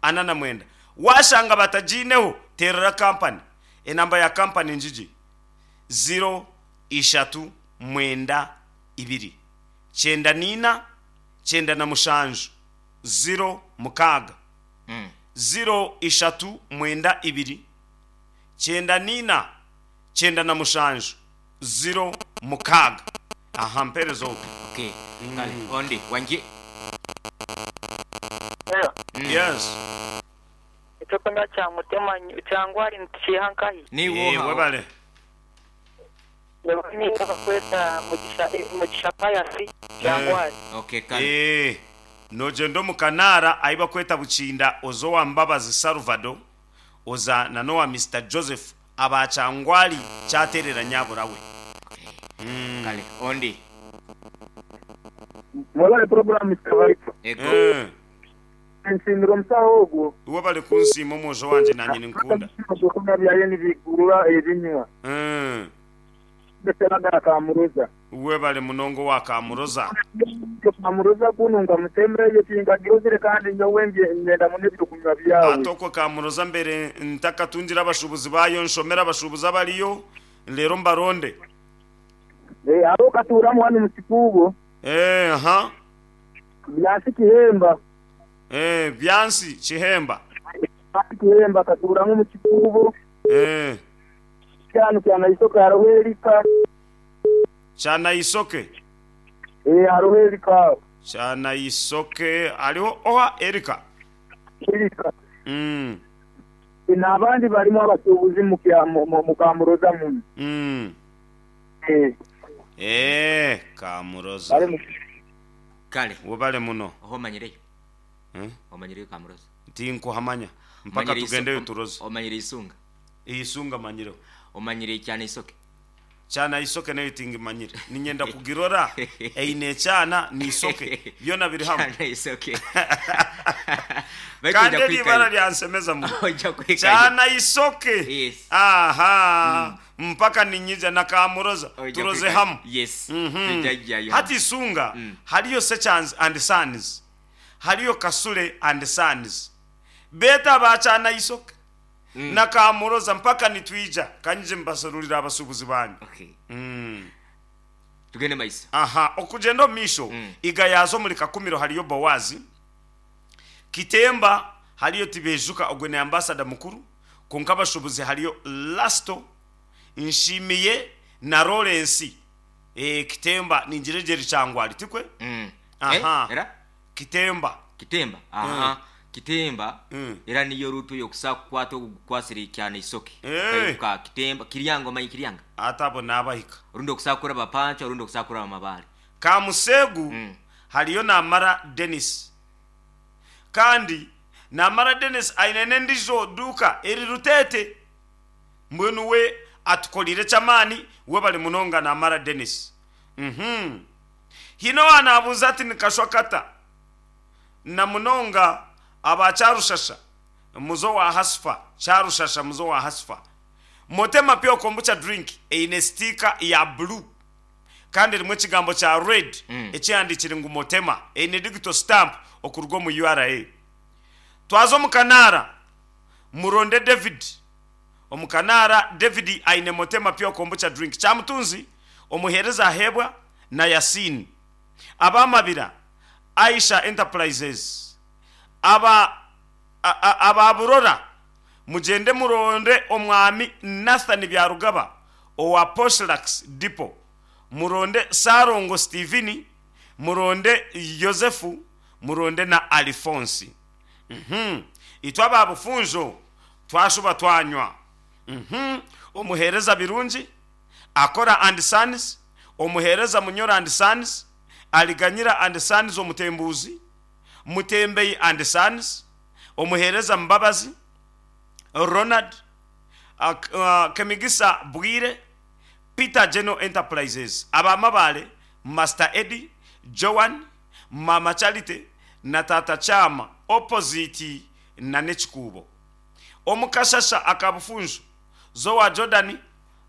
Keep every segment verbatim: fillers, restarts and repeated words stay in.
ana na mwenda. Waashanga batagiineho, teerera kampani. Enamba ya kampani ngigi, ziro ishatu mwenda ibiri, kyenda na ina, kyenda na mushanju, ziro mukaaga. Ziro ishatu mwenda ibiri, kyenda na ina, kyenda na mushanju, ziro mukaaga. Aha mpeereza ogwo. Okay. Kale, ondi, wangi? Hello. Yes. Ekyokunywa kya Mutema Kyangwali nitukiiha nkahi? Niiwe Eh, oha? webale. Nyowe niinye bakweta Mugisha Mugisha Pius Kyangwali. Okay, kale. Eh, nogyenda omu Kanaara ahi bakweta Bukinda oza owa Mbabazi Salvado oza na n'owa Mister Joseph aba Kyangwali kyateerera nyabura we. Okay. Kale, ondi. Mwebale program Mister Viper. Ego. Eh, Nsiimira omusawo ogwo. Webale kunsiima omwojo wangye nanye ninkunda. Ebyokunywa byaye nibigurura ebinywa. Mm. Ndetse Kamuroza. Webale munongo wa Kamuroza. Kamuroza kunu nkamutembeyo tingagirozire kandi nyowe ngenda muno ebyokunywa byawe. Atoko Kamuroza mbere ntakatungira abashubuzi bayo nshomera abashubuzi abariyo lero mbaronde. Eh, abo katuramu hano mu Kikuubo. Eh, aha. Byansi Kihemba. Eh, Byansi Kihemba. Byansi Kihemba katuramu mu Kikuubo. Eh. Kyanu kyana isoke hariho Erika. Kyana isoke. Eh, hariho Erika. Kyana isoke hariho oha Erika. Erika. Mm. N'abandi barimu abasuubuzi mu kya- mu- mu- mu Kamuroza muno. Mm. Eh. Eh, Kamuroza. Bari mu Kale. Webale muno. Oho omanyireyo. Eh? Omanyireyo Kamuroza. Tinkuhamanya. Mpaka Omanyire isu- tugendeyo turoze. Omanyire isunga. Isunga manyireho. Omanyire kyana isoke. Kyana isoke nayo tingimanyire. Ninyenda kugirora eine kyana ni isoke. Byona biri hamwe. Kyana isoke. Kandi eri ibara lyansemeza muno. Ojja kwikayo. Kyana isoke. Yes. Aha. Mpaka ninyija na Kamuroza. Ojja Turoze kwikayo. hamwe. Yes. Mhm. Tujajjayo. Hati isunga Mm. hariyo Sechans and Sons. Hariyo Kasule and Sons. Beta bakyana isoke. Mm. Na Kamuroza mpaka nitwija kanyije mbasorurira abasubuzi banyu. Okay. Mm. Tugende maiso. Aha, okugenda omu maisho Mm. igayazo muri Kakumiro hariyo Bowazi. Kitemba hariyo Tibejuka ogwe ni ambassador mukuru. Konka abashubuzi hariyo Lasto Nshimiye na Lawrence. Eh, Kitemba ningiregeri Kyangwali tikwe? Mm. Aha. Eh, era? Kitemba. Kitemba. Aha. Kitemba. Mm. Era niyo rutu yokusa kukwata ogukwasire kyana isoke. Eh. Ka Kitemba Kiryanga omanyi Kiryanga. Atabo nabahika. Orundi okusakura bapancha orundi okusakura amabale. Kamusegu Mm. hariyo Namara Dennis. Kandi Namara Dennis aine n'endijo duka eri Rutete. Mbwenu we atukolire kyamaani we bali munonga Namara Dennis. Mhm. Hino wanabuuza ati nikashwa kata. Na munonga aba Kyarushasha muzo wa Hasfa, Kyarushasha muzo wa Hasfa. Motema pure kombucha drink eine sticker ya blue. Kandi rimwe ekigambo kya red Mm. ekihandikire ngu Motema eine digital stamp okuruga omu U R A. Twaza omu Kanaara muronde David. Omu Kanaara David aine Motema pure kombucha drink. Kyamutunzi omuheereza ahebwa na Yasin. Abamabira Aisha Enterprises. Aba a- a- ababurora mugende muronde omwami Nathan Byarugaba owa Poshlax Depot. Muronde Sarongo Steveni, muronde Yosefu, muronde na Alphonse. Mhm. Itwe ababufunjo twashuba twanywa. Mhm. Omuheereza Birungi Akora and Sons, omuheereza Munyora and Sons, Aliganyira and Sons omutembuzi, Mutembei and Sons, omuheereza Mbabazi Ronald, ak-, uh, Kemigisa Bwire, Peter General Enterprises, abamabale Master Eddie, Joan, Mama Charity na Tata Chama opposite na Nekikuubo. Omukashasha akabufunjo Zowa Jordan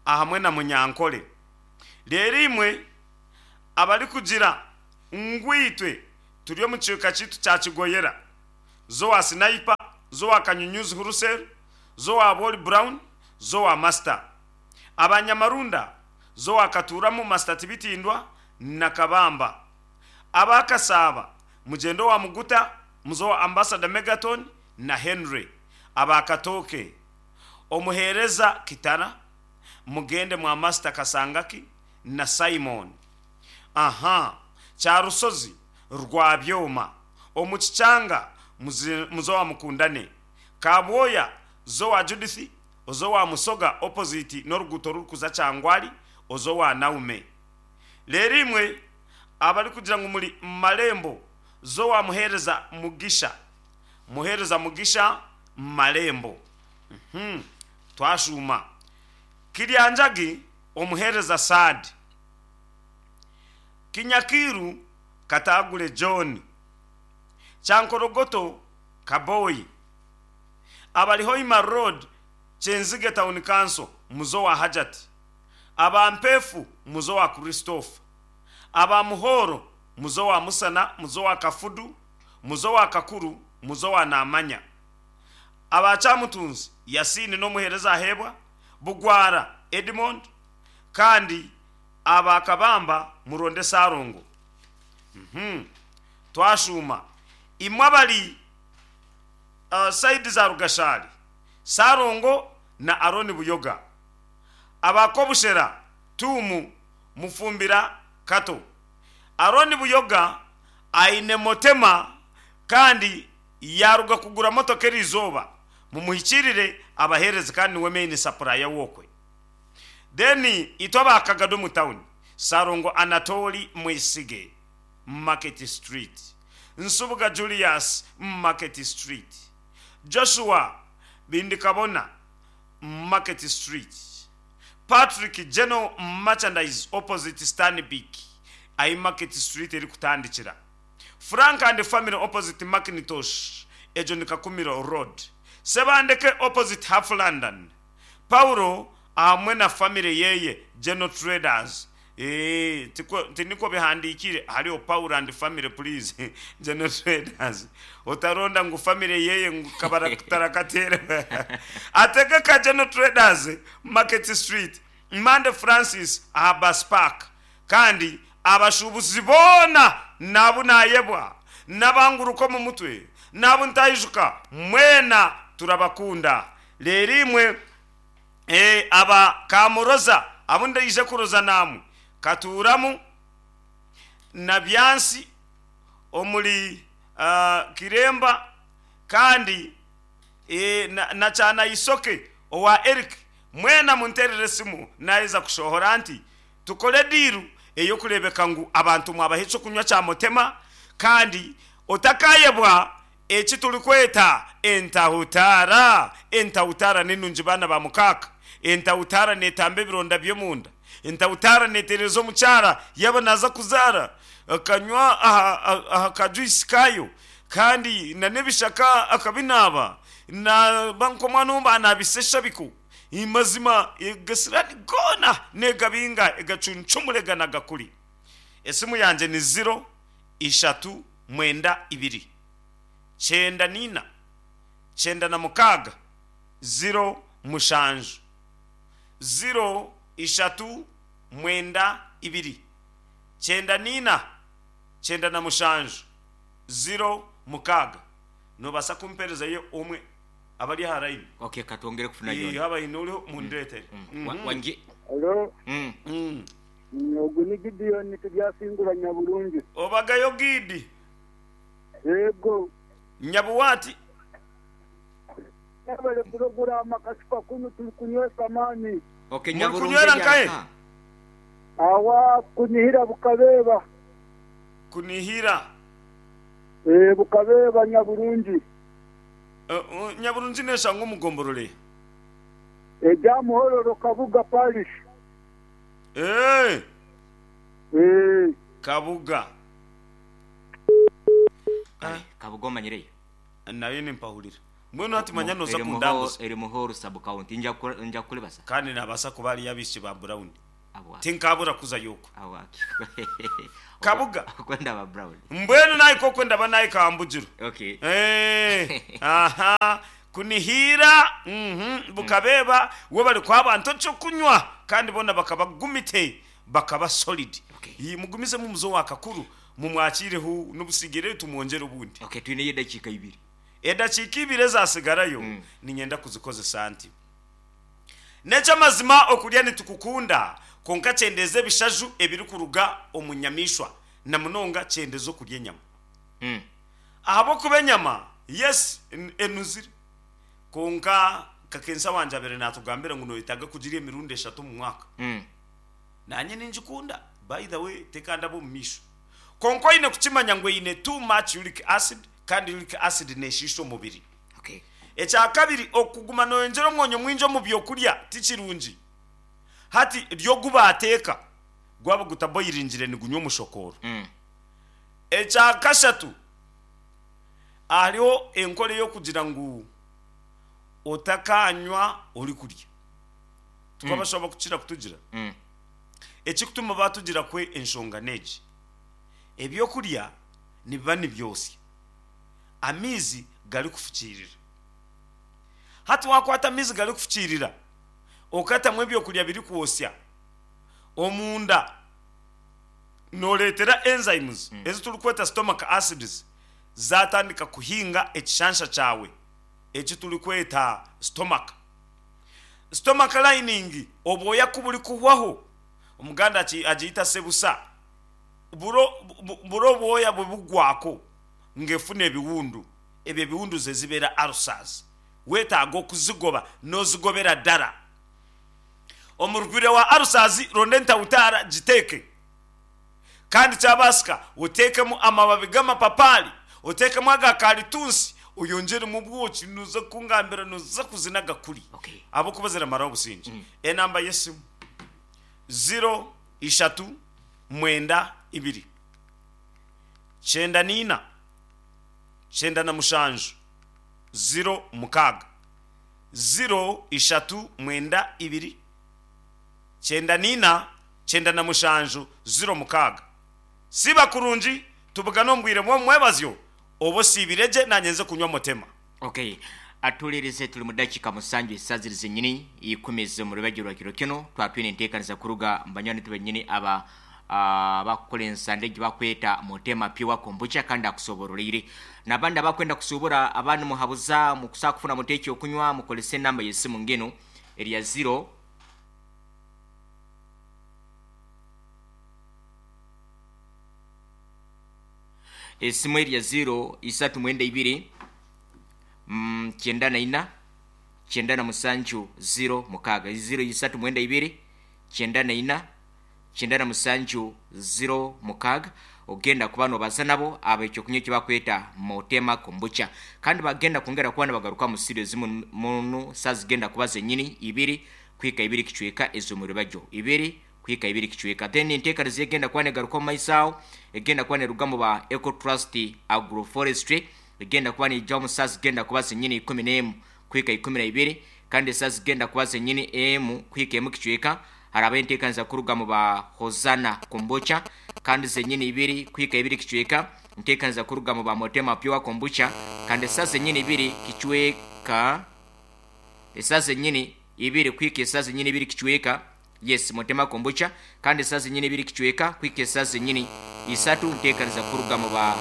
ahamwe na Munyankole. Rero imwe abari kugira ngwitwe turi omu kiika kiitu kya Kigoyera, Zowa Sniper, Zowa Kanyunyuzi Hurusel, Zowa Boli Brown, Zowa Master. Abanyamarunda, Zowa Katuramu Master Tibitindwa na Kabamba. Abakasaba, Mujendo wa Muguta, Muzowa Ambassador Megaton na Henry. Abakatoke, Omuhereza Kitana, Mugende mwa Master Kasangaki na Simon. Aha, Kyarusozi Rwabyoma, Omukichanga Muzowa Mukundane, Kabwoya Zowa Judith, Ozowa Musoga opposite n'oruguuto rurikuza Kyangwali, Ozowa Naume. Leero imwe abari kugira ngu muri Marembo, Zowa Muhereza Mugisha, Muhereza Mugisha Marembo. Mhm. Twashuma. Kiryanjagi Omuhereza Saad. Kinyakiru Katagule John. Kyankorogoto Kaboyi. Abali Hoima Road Kyenzige Town Council Muzowa Hajat. Abampefu Muzowa Christopher. Abamuhoro Muzowa Musana, Muzowa Kafudu, Muzowa Kakuru, Muzowa Namanya. Abachamutunzi Yasini n'omuhereza ahebwa Bugwara Edmond, kandi abakabamba Muronde Sarongo. Mhm. Twashuma imwe abali uh, saidi za Rugashari, Sarongo na Aroni Buyoga. Abakobushera Tumu Mufumbira Kato. Aroni Buyoga aine motema kandi yaruga kugura motoka erizoba, mumuhikirire abahereze kandi niwe main supplier wokwe. Then itwa bakagado mu town Sarongo Anatoli Mwisige Market Street, Nsubuga Julius Market Street, Joshua Bindikabona Market Street, Patrick General Merchandise opposite Stanbic ayi Market Street eri kutandikira, Frank and family opposite Macintosh ejo ni Kakumiro Road, Sebandeke opposite Half London, Paulo hamwe na family yeye General Traders. Eh, tiko tiniko bihandikire hariho Paul and family please General Traders. Otaronda ngu family yeye ngu kabara tarakatera. Ategeka General Traders Market Street, Mande Francis Abbas Park. Kandi abashubuzi bona nabu nayebwa nabanguruko mu mutwe nabu ntayijuka mwena turabakunda. Rero imwe eh aba kamuroza abunda ije kuroza namu katuramu na byansi omuli uh, Kiremba kandi e, na, na chana isoke owa Eric mwena munterere simu naiza kushohora nti tukole diru eyo kurebeka ngu abantu mwabahe kunywa cha motema kandi otakayebwa eki turi kweta entahutara. Entahutara ninungi bana ba mukaka. Entahutara netambe ebironda by'omunda. Entahutara netereza omukyara yaba naza kuzara akanywa aha, aha kajuisi kayo kandi na nebishaka akabinaba na bankomwana omba anabisesha biku imazima egasirani gona negabinga egacunchumurega nagakuri. Esimu yanje ni zero ishatu mwenda ibiri chenda nina chenda na mukaga zero mushanju zero ishatu mwenda ibiri chenda nina chenda na mushanju zero mukaga. Nobasa kumpereza yo omwe abali haraini. Okay, katwongere kufuna yona. Haba inoliho mundetere. Mm. Mm. Mm. Wangi. Hello. Mm. Mm. Ogu ni Gideon tubyasingura Nyaburungi. Obagayo Gidi. Yego. Nyabuwati. Nabale programa kasipa kunu tukunywesa amani. Okay, Nyaburungi. Kunywera nkaye. Awa kunihira bukabeba. Kunihira. Eh bukabeba Nyaburungi. Uh, uh, Nyaburungi neshango mugomborole. Eja muhororo Kabuga parish. Eh. Eh Kabuga. Ah, Kabuga manyire. Nayo nimpahurira. Mbwenu ati manya noza kundanguza. Eri muhoro sub county nja nja kulebasa. Kandi nabasa kubali yabishe ba Brown. Abwa. Tinkabura kuza yoko. Awaki. Kabuga. Kwenda ba Brown. Mbwenu nahika okwe ndaba nahika hambugiro. Okay. Eh, aha kunihira, mhm, bukabeba we bari kwa abantu cyo kunywa kandi bona bakabagumite bakaba solid. Okay. Iyi mugumize mu muzo wakakuru mumwakireho n'ubusigire tumwongere ubundi. Okay, twine yedakika ibiri. Edakika ibiri ezasigarayo mm. Ninyenda kuzikozesa nti nekyamazima okurya nitukukunda, konka kyendeze ebishaju ebirikuruga omu nyamishwa na munonga kyendeze okurya enyama. Mm. Ahabwokuba enyama yes en- enuzire, konka kakensa wanje abere natugambira ngu noyetaga kugira emirundi eshatu omu mwaka. Mm. Nanye ninjikunda, by the way, tekandaba omu maisho, konka oine kukimanya ngu eine too much uric acid, kandi uric acid neshiisha omubiri. Okay. Ekya kabiri, okuguma noyongyera omwonyo mwingi omu byokurya tikirungi. Hati ryo gubateeka gwaba gutaboyiringire nigunywa omushokoro. Mm. Ekya kashatu, hariho enkora ey'okugira ngu otakanywa ori kurya, tukabashobora kukira kutugira. Mm. Ekikutuma batugira kwe enshonga negi, ebyokurya nibiba nibyosya, amaizi gari kufukiirira. Hati wakwata amaizi gari kufukiirira okatamu ebyokurya biri kwosya omunda, noreetera enzymes mm. ezi turikweta stomach acids zatandika kuhinga ekishansha kyawe eki turikweta stomach stomach lining. Obwoya kuburi kuhwaho, omuganda agi- agiyita sebusa, buro bu- buro obwoya bwe bugwako ng'efuna ebiwundu, ebyo ebiwundu ze zibeera ulcers, wetaaga okuzigoba n'ozigobera ddala. Omurugwire wa ulcers, ronda entawutaara giteeke, kandi kyabasika oteekemu amababi g'amapapari, oteekemu aga karitunsi, oyongeremu obwoki, nuza kungambira nuza kuzina gakuri. Okay. Abokuba ziramaraho obusinge. Enamba y'esimu zero ishatu mwenda ibiri kyenda niina kyenda na mushanju zero mukaaga, zero ishatu mwenda ibiri kyenda niina kyenda na mushanju zero mukaaga. Siba kurungi, tubugane omu bwire bw'omwebazyo, oba osiibire gye, nanye nze kunywa mutema. Okay. Atulirize, tuli mu dakika musanju esaziri zenyini ikumi z'omu rubajyo rwa kiro kino. Twatwine enteekaniza kuruga mu banywani benyini aba ah, bakukola ensande egi bakweta Mutema Pure Kombucha, kandi akusobororire nabandi abakwenda kusuubura abandi muhabuza mukusaa kufuna muteeki okunywa, mukolese enamba y'essimu ngeno erya zero esimu erya zero isatu mwenda ibiri mm, kyenda na ina kyenda na musanju zero mukaaga, zero isatu mwenda ibiri kyenda na ina kyenda na musanju zero mukaaga. Ogenda kuba nobaza nabo abo ekyokunywa ekibakweta Motema Kombucha, kandi bagenda kwongera kuba nibagaruka mu studio zimu munu saa zigenda kuba zenyini ibiri kwika ibiri kicweka ez'omuribajyo, ibiri kwika ibiri kicweka. Then enteekaniza egenda kuba negaruka omu maiso aho egenda kuba neruga mu ba Eco Trust Agroforestry, egenda kuba niija omu saa zigenda kuba zenyini ikumi n'emu kwika ikumi na ibiri, kandi saa zigenda kuba zenyini emu kwika emu kicweka haraba enteekaniza kuruga mu ba Hosana Kombucha, kandi zenyini ibiri kwika ibiri kicweka nteekaniza kuruga mu ba Motema Pure Kombucha, kandi saa zenyini ibiri kicweka esaa zenyini ibiri kwika esaa zenyini ibiri kicweka, yes, Motema Kombucha, kandi esaa zenyini ibiri kicweka kwika esaa zenyini isatu nteekaniza kuruga mu ba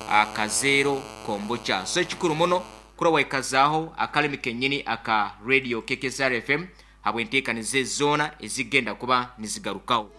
Akazero Kombucha. So ekikuru muno kura waikazaaho akalimi kenyini aka radio K K S R F M habwenteekaniza ezoona ezigenda kuba nizigarukaho.